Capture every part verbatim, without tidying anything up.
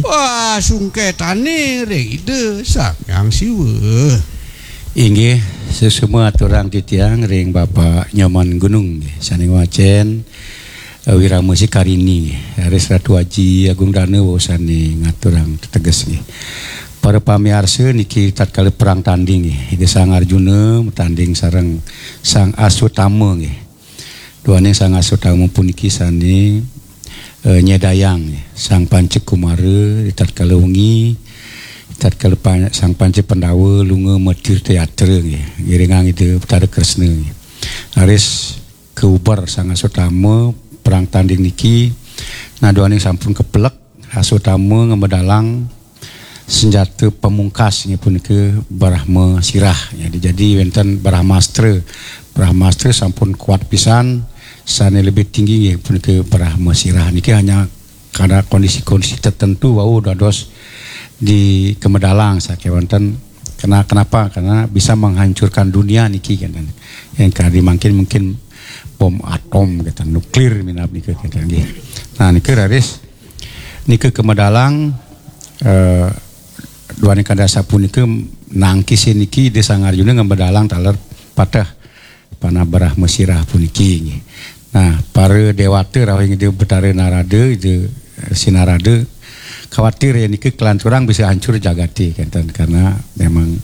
Wah, sungketane ring Ida Sang Hyang Siwa. Inggih, suksma aturang titiang ring Bapak Nyoman Gunung nggih, sane ngwacen, eh, Wirama Sikarini nggih. Raris Ratu Aji Agung Dana wau sane ngaturang teteges nggih. Para pamiarsa niki tatkala perang tanding nggih, Ida Sang Arjuna matanding sareng Sang Aswatama nggih. Duaning Sang Aswatama puniki sane, eh, nyedayang nggih, Sang Panca Kumara, tatkala wengi, tatkala pan-, Sang Panca Pandawa lunga matirta yatra nggih, ngiringang Ida Betara Kresna nggih. Raris kauber Sang Aswatama perang tanding niki, nah duaning sampun kapelek, Aswatama ngamedalang senjata pamungkas inggih punika Brahma Sirah. Ya, jadi wenten Brahmastra. Brahmastra sampun kuat pisan, sane lebih tinggi inggih punika Brahma Sirah. Niki hanya karena kondisi-kondisi tertentu wau dados dikemedalang sakewanten. Kena-, kenapa? Karena bisa menghancurkan dunia niki kan. Yang kadi mangkin mungkin bom atom kita, nuklir minab nika kita nggih. Nah, nika raris nika kamedalang, eh, duaning kadi asapunika nangkis niki Ida Sang Arjuna ngamedalang taler pateh panah Brahma Sirah puniki nggih. Nah, para dewata rauh ring Ida Betara Narada, Ida Resi Narada, khawatir yen nika kalanturang bisa hancur jagate kenten karena memang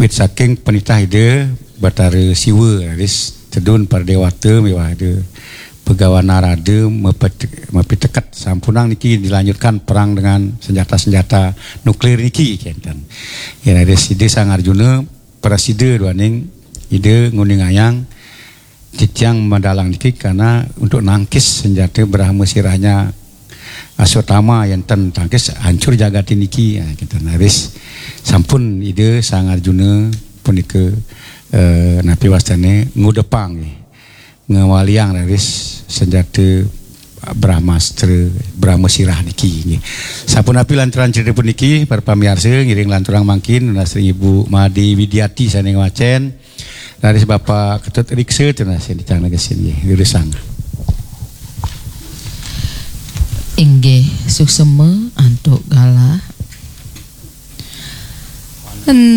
wit saking penitah Ida Betara Siwa raris tedun para dewata miwah Ida Begawan Narada mepet-, mapiteket sampunang niki dilanjutkan perang dengan senjata-senjata nuklir niki kenten. Yen raris Ida Sang Arjuna prasida duaning Ida nguningayang titiang medalang niki karena untuk nangkis senjata Brahma Sirahnya Aswatama yen ten tangkis hancur jagate niki. Ya, kita raris sampun Ida Sang Arjuna punika, eh, napi wastane ngudepang nggih. Ngawaliang raris senjata Brahmastra, Brahma Sirah niki nggih. Sapunapi lanturan cerita puniki, para pamiarsa ngiring lanturang mangkin nunas ring Ibu Made Widiati sane ngwacen. Raris Bapak Ketut Riksa tunas sing dicang negesin nggih, durusang. Inggih, suksema antuk galah.